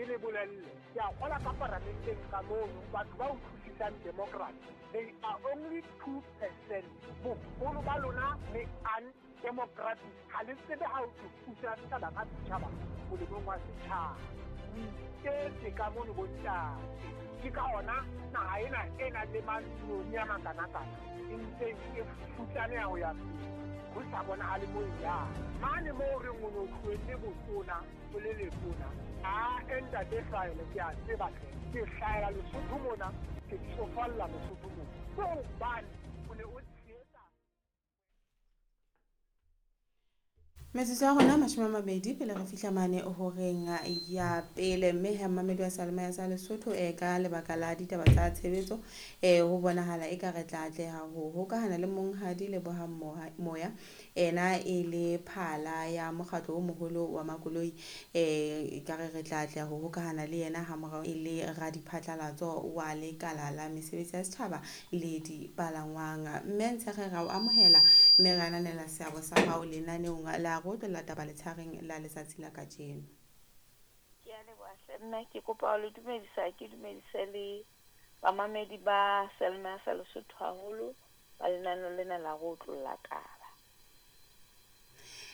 Ke le bolelle, ke a kgola ka paramenteng ka mono batho ba utlwisisang democracy, they are only 2%. Boholo ba lona le undemocratic, ha le tsebe ha o pusa setjhaba ka setjhaba molemong wa setjhaba. O iketse ka mono bontate. Ke ka ona naha ena e nang le mantsione a makanakana e ntseng e futsaneha ho ya pele, ho sa bonahale mo e yang. Mane moo re o no tlohelle botona o le letona, a ntate Hlwaele, ke a tseba hle, ke hlahela Lesotho mona, ke tsofalla Lesotho mona, ke hobane o ne o tshehetsa. Metsotso ya rona 20 pele re fihla mane horeng ya pele, mme he mmamedi wa Seyalemoya sa Lesotho ka lebaka la ditaba tsa tshebetso ho bonahala e ka re tla atleha ho hokahana le monghadi Lebohang Moya, ena e le phala ya mokgatlo o moholo wa makoloi. Ekare re tla atleha ho hokahana le yena ha morao e le radiphatlalatso wa lekala la mesebetsi ya setjhaba le dipalangwang. Mme Ntshekge ra o amohela mme re ananela seabo sa hao lenaneong la go tlolla taba letshareng la letsatsi la kajeno. Ke a leboha hle mme, ke kopa ho le dumedisa, ke dumedise le bamamedi ba Seyalemoya sa Lesotho haholo ba lenaneo lena la go tlolla taba.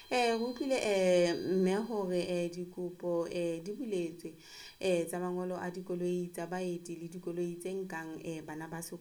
Re utlwile mme hore dikopo di buletswe tsa mangolo a dikoloi tsa baeti le dikoloi tse nkang bana ba sekolo.